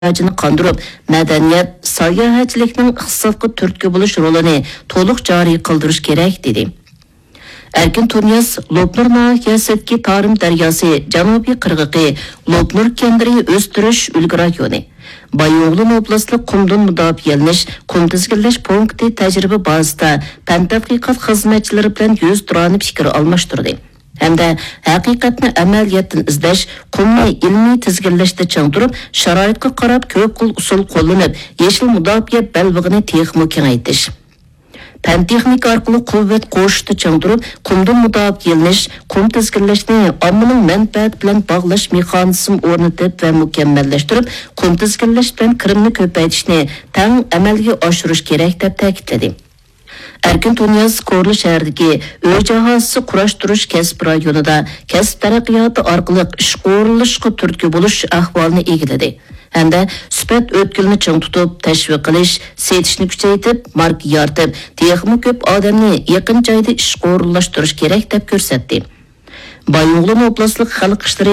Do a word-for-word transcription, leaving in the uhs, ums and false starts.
ئېھتىياجىنى قاندۇرۇپ، مەدەنىيەت، ساياھەتچىلىكنىڭ ئىقتىسادقا تۈرتكە بولۇش رولىنى تولۇق جارى قىلدۇرۇش كېرەك، دېدى. ئەركىن تۇنىياز لوپنۇر ناھىيەسىدىكى تارىم دەرياسى جەنۇبىي قىرغىقى، لوپنۇر كەندىرى ئۆستۈرۈش ئۈلگە رايونى، بايىنغولىن ئوبلاستلىق قۇمدىن مۇداپىئەلىنىش قۇم تىزگىنلەش پونكىتى تەجرىبە بازىسىدا پەن تەتقىقات خىزمەتچىلىرى بىلەن يۈزتۇرانە پىكىر ئالماشتۇردى ھەمدە ھەقىقەتنى ئەمەلىيەتتىن ئىزدەش، قۇمنى ئىلمىي تىزگىنلەشتە چىڭ تۇرۇپ، شارائىتقا قاراپ كۆپ خىل ئۇسۇل قوللىنىپ، يېشىل مۇداپىئە بەلبېغىنى تېخىمۇ كېڭەيتىش. پەن-تېخنىكا ئارقىلىق قۇۋۋەت قوشۇشتا چىڭ تۇرۇپ، قۇمدىن مۇداپىئەلىنىش، قۇم تىزگىنلەشنى ئاممىنىڭ مەنپەئەتى بىلەن باغلاش مېخانىزمى ئورنىتىپ ۋە مۇكەممەللەشتۈرۈپ، قۇم تىزگىنلەش بىلەن كىرىمنى كۆپەيتىشنى تەڭ ئەمەلگە ئاشۇرۇش كېرەك، دەپ تەكىتلىدى. ئەركىن تۇنىياز كورلا شەھىرىدىكى ئۆي جاھازىسى قۇراشتۇرۇش كەسىپ رايونىدا كەسىپ تەرەققىياتى ئارقىلىق ئىشقا ئورۇنلىشىشقا تۈرتكە بولۇش ئەھۋالىنى ئىگىلىدى. ھەمدە سۈپەت ئۆتكىلىنى چىڭ تۇتۇپ، تەشۋىق قىلىش، سېتىشنى كۈچەيتىپ، ماركا يارىتىپ، تېخىمۇ كۆپ ئادەمنى يېقىن جايدا ئىشقا ئورۇنلاشتۇرۇش كېرەك، دەپ كۆرسەتتى. بايىنغولىن ئوبلاستلىق خەلق ئىشلىرى